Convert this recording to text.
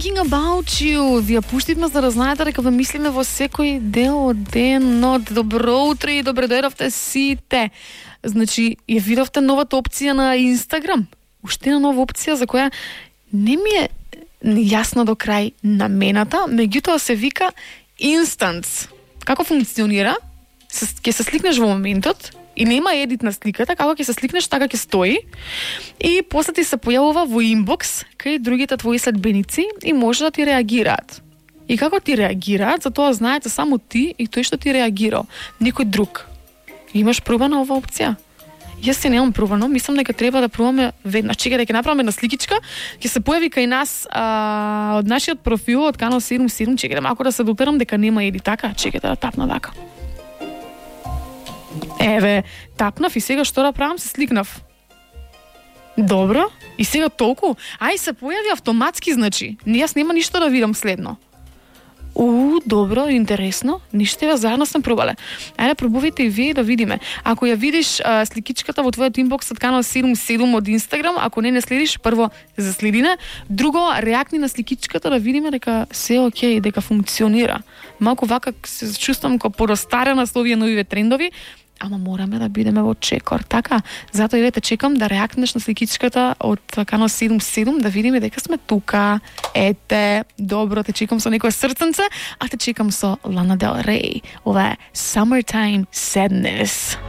thinking about you. Ви ја пуштивме за да знаете дека ве мислиме во секој дел од денот. Добро утро и добре дојдовте сите. Значи, ја видовте новата опција на Инстаграм? Уште една нова опција за која не ми е јасно до крај намената, меѓутоа се вика Instants. Како функционира? Ќе се сликнеш во моментот и нема едит на сликата, како ќе се сликнеш, така ќе стои и после ти се појавува во инбокс кај другите твои следбеници и може да ти реагираат. И како ти реагираат, за тоа знаете само ти и тој што ти реагирал, никој друг. Имаш пробана ова опција? Јас се немам пробано, мислам дека треба да пробаме веднаш. Чекај да ќе направиме една сликичка, ќе се појави кај нас од нашиот профил од Канал 77, чекај малку да се дотерам дека нема еди така, чекај да тапна така. Еве, тапнав и сега што да правам, се сликнав. Добро, и сега толку? Ај се појави автоматски, значи. Јас нема ништо да видам следно. Добро, интересно. Ништо ја заедно сме пробале. Ајде пробувайте и вие да видиме. Ако ја видиш сликичката во твојот инбокс од Канал 77 од Инстаграм, ако не следиш, прво заследине, друго реакни на сликичката да видиме дека се окей, дека функционира. Малку вака се чувствам како поростарена со овие нови трендови, ама мораме да бидеме во чекор, така? Затоа и чекам да реакнеш на сликичката од Канал 77, да видиме дека сме тука. Ете, добро, те чекам со некое срценце, а те чекам со Лана Del Rey. Ова е Summertime Sadness.